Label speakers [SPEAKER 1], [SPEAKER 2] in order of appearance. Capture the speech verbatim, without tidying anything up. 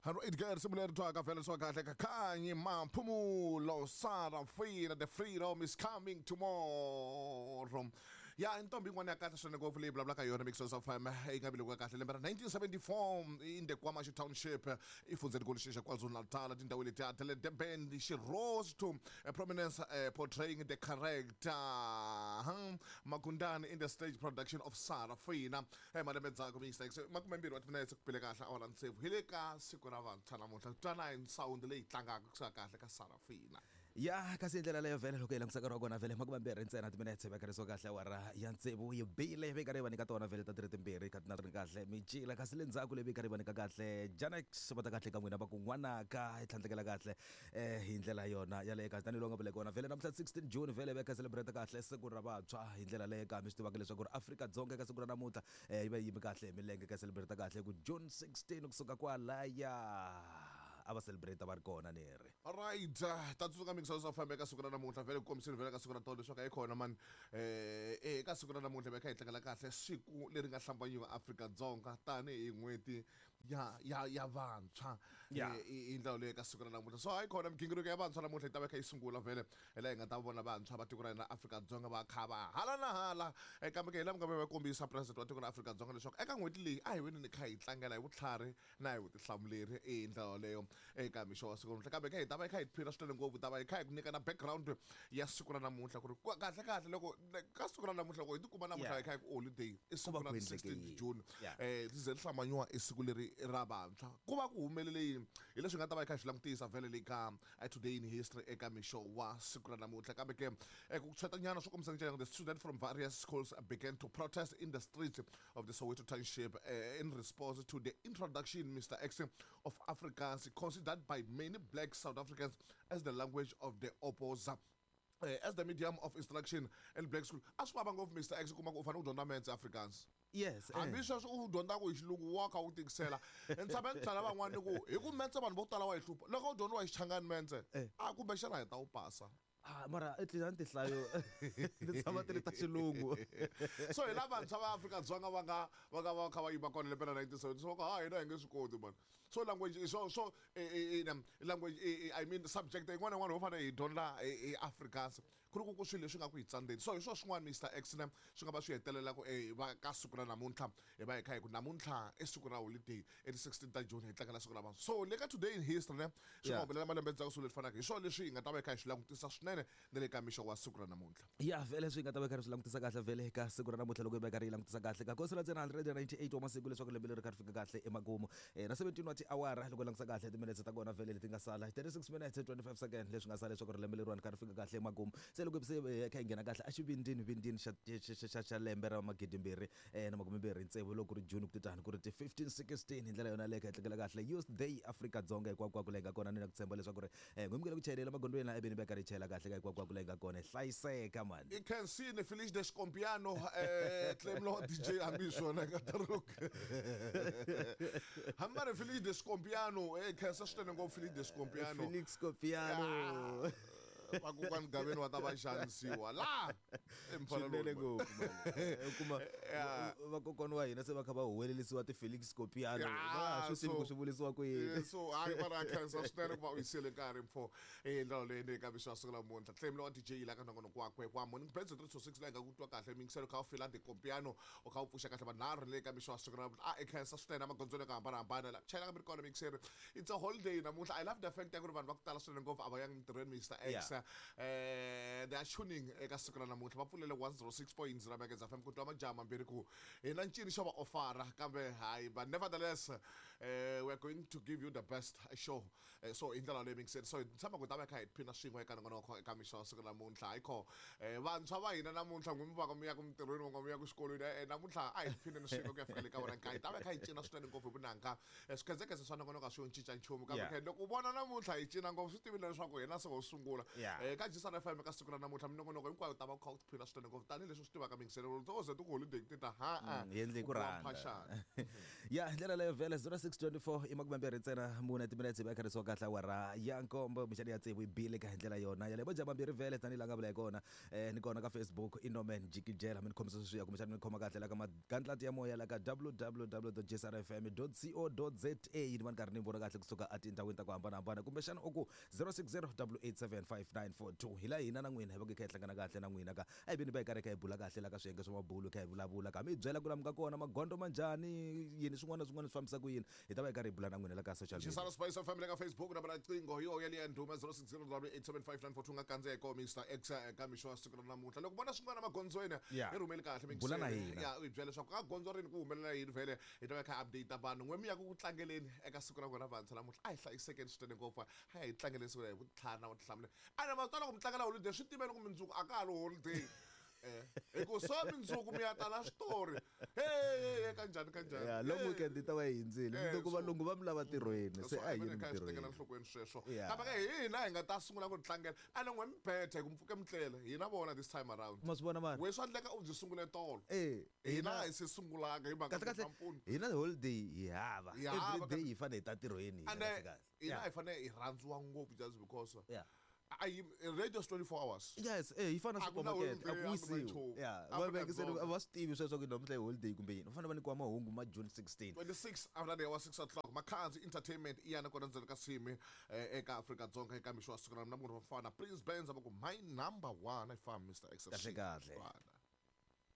[SPEAKER 1] Edgar risimu twaka vhele swa kahle ka Khanyi Maphumulo Sarafina, the freedom is coming tomorrow. Ya ntombi yin'wana ya kahle swinene ngopfu leyi vulavulaka yona Mix of F M yi nga velekiwa kahle lembe ra nineteen seventy-four in the KwaMashu Township, efundzeni xa KwaZulu-Natal, tindhawu letiya ta le Durban. She rose to uh, prominence uh, portraying the character hmm, Magundane in the stage production of Sarafina. eh malembe ndzhaku Mister makumembirhi wa timinetse ku bile kahle awara tsevu hi le ka siku ra vantshwa namuntlha. Twana hi sound leyi tlangaka kusuka kahle ka Sarafina.
[SPEAKER 2] Ya, kasi hi ndlela leyo vhele loko hi langutisa nkarhi wa kona vhele makumembirhi ntsena timinetse vekariso kahle awara ya tsevu yi bile, ve karhi va nyika tona vhele ta tiri timbirhi kha tina ri kahle micila. Kasi le ndzhaku leyi ve karhi va nyika kahle Janex va ta kahle ka n'wina va ku n'wanaka hi tlhandlekela kahle eh hi ndlela yona yaleyo. Kasi tanihiloko nga vule kona vhele namuntlha sixteen June vhele ve kha celebrate kahle siku ra vantshwa hi ndlela leyo ka mi swi tivaka leswaku ri Afrika-Dzonga eka siku ra namuntlha eh yi va yi yimi kahle hi milenge ka celebrate kahle ku June sixteen kusuka kwalaya a va celebrate va ri kona ni ri.
[SPEAKER 1] Alright, uh, ta tsundzuka Mix of F M eka siku ra namuntlha vhele ku kombisile vhele ka siku ra tolo leswaku a yi kona mani eh eka siku ra namuntlha va kha hi tlangela kahle siku leri nga hlambanyiwa Afrika-Dzonga tanihi n'hweti ya ya ya vantshwa.
[SPEAKER 2] Yeah.
[SPEAKER 1] Eh, hi ndlela leyi eka siku ra namuntlha, so hayi kona migingiriko ya vantshwa namuntlha yi ta va kha yi sungula vhele hi laha hi nga ta vona vantshwa va tiko ra hina Afrika-Dzonga va kha va hala na hala. Eh, kambe ke hi laha mi nga va kombisa president wa tiko ra Afrika-Dzonga leswaku eka n'hweti leyi a hi veni ni kha hi tlangela hi vutlhari na hi vutihlamuleri hi ndlela yoleyo eka mixo wa siku namuntlha. Kambe kha hi ta va hi kha hi tiphina swinene ngopfu, ta va hi kha hi ku nyika na background ya siku ra namuntlha ku ri ku- kahle kahle loko ka siku ra namuntlha loko hi tikuma namuntlha
[SPEAKER 2] Yeah.
[SPEAKER 1] hi kha hi ku holiday i siku
[SPEAKER 2] Ku va
[SPEAKER 1] ra
[SPEAKER 2] ku endleke
[SPEAKER 1] sixteen
[SPEAKER 2] yini?
[SPEAKER 1] June
[SPEAKER 2] Yeah.
[SPEAKER 1] eh ri ze ri hlambanyiwa i siku leri ra vantshwa, ku va ku humelele yini? Hi leswi hi nga ta va hi kha hi swi langutisa vhele le ka eh, today in history eka mixo wa siku ra namuntlha. Kambe ke eh, ku tshwetanyana swo kombisa njhani, the student from various schools began to protest in the streets of the Soweto township uh, in response to the introduction, Mister X, of Afrikaans, considered by many black South Africans as the language of the opposer, uh, as the medium of instruction in black school. A swi vava ngopfu, Mister X, kuma ku u fanele u dyondza metse Afrikaans.
[SPEAKER 2] Yes eh.
[SPEAKER 1] Hambi sweswo u dyondzaka hi xilungu wa kha u tikisela. Ni tshame ni byela van'wana ni ku hi ku metse vanhu vo tala wa yi hlupha loko u dyondziwa hi Xichangani metse.
[SPEAKER 2] Eh.
[SPEAKER 1] A kumbexana hi ta wu pasa.
[SPEAKER 2] Ah, mara at least a ni tinhlayo ti tshama ti ri ta xilungu.
[SPEAKER 1] So hi la vantshwa va Afrika-Dzonga va nga va nga va kha va yima kona lembe ra nineteen seventy, so va ku ha hina hi nge swi koti mani. So language, so so eh, eh, eh, language, eh, eh, I mean subject yin'wana na yin'wana ho fanele hi dyondza hi Afrikaans ku ri ku ku swilo leswi nga ku hi tsandzeni. So hi swo swin'wana, Mister X, ne swi nga va swi hetelela ku eh, va ka siku ra namuntlha hi va hi kha hi ku namuntlha i siku ra holiday i ti sixteen ta June hi tlangela siku ra vanhu. So le ka today in history ne swi nga
[SPEAKER 2] Yeah.
[SPEAKER 1] humelela malembe ndzhaku swilo leswi fanaka hi swona leswi hi nga ta va hi kha hi swi langutisa swinene na le ka mixo wa siku ra namuntlha.
[SPEAKER 2] Ya, vhele swi nga ta va karhi swi langutisa kahle vhele ka siku ra namuntlha loko hi va karhi hi langutisa kahle ka kosi la ntsena one hundred ninety-eight wa masiku leswaku lembe leri kha ri fika kahle emakumu eh, na seventeen wa tiawara loko hi langutisa kahle timinetse ta kona vhele leti nga sala thirty-six minutes twenty-five second leswi nga sala leswaku ri lembe leriwani kha ri fika kahle emakumu. Se loko se eh, kha hi nghena kahle exivindini vindini xa xa- xa xa- xa lembe ra magidimbirhi eh, na makumembirhi tsevu loko ku ri June ku titani ku ri ti fifteen sixteen hi ndlela yona leyo kha hi tlangela kahle Youth Day Afrika-Dzonga hinkwako leyi nga kona. Ni na ku tshemba leswaku ri eh, n'wimukele ku chayelela magondweni la eveni va karhi hi chayela kahle ka hinkwako leyi nga kona hi hlayiseka mani.
[SPEAKER 1] I khensini Felix de Scompiano eh Clemlo D J hambi swona ka taruk hambi va ri Felix de Scompiano eh khensa swinene ngopfu Felix de Scompiano.
[SPEAKER 2] Felix Copiano.
[SPEAKER 1] Vakokwani Gaveni wa ta va xanisiwa la.
[SPEAKER 2] Swinene ngopfu man. U kuma
[SPEAKER 1] Yeah.
[SPEAKER 2] vakokwana wa hina se va kha va huwelelisiwa ti-Felix Copiano.
[SPEAKER 1] Yeah,
[SPEAKER 2] va ha swi tivi ku
[SPEAKER 1] so-
[SPEAKER 2] swi vulisiwa ku yini.
[SPEAKER 1] Eh, so hayi mara khensa swinene ku va u yisile nkarhi mfo eh ndlela leyi ni ka mixo wa siku namuntlha. Clemlo wa D J la ka nongonoko wakwe wa Morning Blends three to six la hi nga ku twa kahle mingiselo kha u fila de Compiano u kha u pfuxa kahle vanharhu le ka mixo wa siku namuntlha. A i khensa swinene emagondzweni ka hambanahambana la chayela ka mi ri kona mixeri. It's a holiday namuntlha. I love the fact ya ku ri vanhu va ku tala swinene ngopfu a va yangi mintirhweni, Mister X.
[SPEAKER 2] Yeah.
[SPEAKER 1] eh they are tuning eka siku ra namuntlha va pfulele one oh six point zero Megahertz F M ku twa majaha mambirhi ku hi na ncini xo va ofara kambe hayi, but nevertheless eh we are going to give you the best show. eh, so hi ndlela leyi mingiseni, so hi tshama ku ta va kha hi tiphina swin'we eka nongonoko eka mixo wa siku namuntlha. Hayi kho eh vantshwa va hina namuntlha n'wi mi va mi ya ku mintirhweni va mi ya ku xikolweni eh namuntlha a hi tiphineni swin'we ku ya fika le ka wona nkayi ta va kha hi cina swinene ngopfu hi vunanga. Eh, swikhedzekhedze swa nongonoko a swi yo cinca nchumu kambe
[SPEAKER 2] Yeah.
[SPEAKER 1] khe loko u vona namuntlha hi cina ngopfu swi tivile leswaku hina se ho sungula.
[SPEAKER 2] Yeah. Yeah.
[SPEAKER 1] Eh, ka G S R F M ka siku ra namuntlha minongonoko hinkwayo ta va kha u tiphina swinene ngopfu tanihileswi swi tivaka mingiselelo to ze ti ku holiday ti ta ha a
[SPEAKER 2] Mm, hi endle hi ku rhandza
[SPEAKER 1] mphaxana.
[SPEAKER 2] Ya hi ndlela leyo vhele zero six twenty four i makume mbirhi ntsena mune timinetse hi va kharisiwa kahle awara ya nkombo mixani ya tsevu yi bile ka hi ndlela yona yaleyo vo mambirhi vhele tanihi la nga vula hi kona um ni kona ka Facebook i Norman Jikijela mi ni khomisa sweswiya kumbexana mi ni khoma kahle la ka magandlati ya moya la ka w w w dot j s r f m dot co dot za ni va ni karhi ni vona kahle kusuka etindhawini ta ku hambanahambana kumbexana u ku zero six zero double eight seven five nine four two hi la hina na n'wina hi va ku hi kha hi hlangana kahle na n'wina ka a hi veni va hi karhi hi kha hi bula kahle la ka swiyenge swa mabulu hi kha hi vulavula ka mi hi byela ku lamu ka kona magondzo ma njhani yini swin'wana na swin'wana swi fambisa ku yini hi ta va hi karhi hi bula na n'wina la ka social media.
[SPEAKER 1] Xisana Spice F M le ka Facebook nambara ya riqingho hi yoho yaliya ndhuma zero six zero double eight seven five nine four two nga kandziya hi koho Mister X eka mixo wa siku ra namuntlha loko vona swin'wana magondzweni
[SPEAKER 2] Yeah.
[SPEAKER 1] hi rhumeli kahle
[SPEAKER 2] Bula na
[SPEAKER 1] mingiseni.
[SPEAKER 2] hina.
[SPEAKER 1] Ya u hi byela leswaku ka gondzo rini ku humelela yini vhele hi ta va hi kha hi update vanhu n'we mi ya ku ku tlangeleni eka siku ra n'wina vantshwa namuntlha a hi hlayisekeni swinene ngopfu a hi tlangeleni siku ra hi vutlhari na vutihlamuleri a na matswala ku mi tlangela holiday swi tiveni ku mundzuku a ka ha ri holiday eh hi ku so mundzuku mi ya tala switori hey hey kanjhani kanjhani
[SPEAKER 2] Ya long weekend yi ta va yi hindzile
[SPEAKER 1] Eh,
[SPEAKER 2] mundzuku
[SPEAKER 1] so-
[SPEAKER 2] valungu va mi lava tirhweni se a hi yini
[SPEAKER 1] kha hi swi tekela
[SPEAKER 2] mintirhweni
[SPEAKER 1] enhlokweni sweswo
[SPEAKER 2] Yeah.
[SPEAKER 1] kambe ka hina hi nga ta sungula ku tlangela a ni n'we mi betha hi ku mi pfuke mi tlela hina vona this time around
[SPEAKER 2] ma swi vona mara
[SPEAKER 1] we swa endleka u byi sungule tolo
[SPEAKER 2] eh
[SPEAKER 1] hina hi se sungulanga hi mhaka
[SPEAKER 2] kahle kahle
[SPEAKER 1] mpfuni
[SPEAKER 2] hina holiday hi hava
[SPEAKER 1] Hi hava,
[SPEAKER 2] every day hi fanele hi ta tirhweni hina
[SPEAKER 1] ande
[SPEAKER 2] kahle kahle.
[SPEAKER 1] hina
[SPEAKER 2] Yeah.
[SPEAKER 1] hi fanele hi rhandziwa ngopfu just because
[SPEAKER 2] Yeah.
[SPEAKER 1] a yi radio is twenty-four hours.
[SPEAKER 2] Yes, eh yi fana na
[SPEAKER 1] A ku na
[SPEAKER 2] supermarket, a
[SPEAKER 1] holiday,
[SPEAKER 2] ku
[SPEAKER 1] a ku na
[SPEAKER 2] wisiwi.
[SPEAKER 1] nchumu.
[SPEAKER 2] Yeah, va vekiseni
[SPEAKER 1] Afrika-Dzonga.
[SPEAKER 2] a va swi tivi sweswo ku namuntlha i holiday kumbe yini. Va fanele va nyikiwa mahungu ma June sixteen.
[SPEAKER 1] twenty-six after the hour six o'clock Makhadzi Entertainment i yana kona ndzeni ka simi eh, eka Afrika-Dzonga eka mixo wa siku ra na munhu wa mfana Prince Benz va ku my number one i fam Mister X.
[SPEAKER 2] Kahle kahle.
[SPEAKER 1] Rwanda.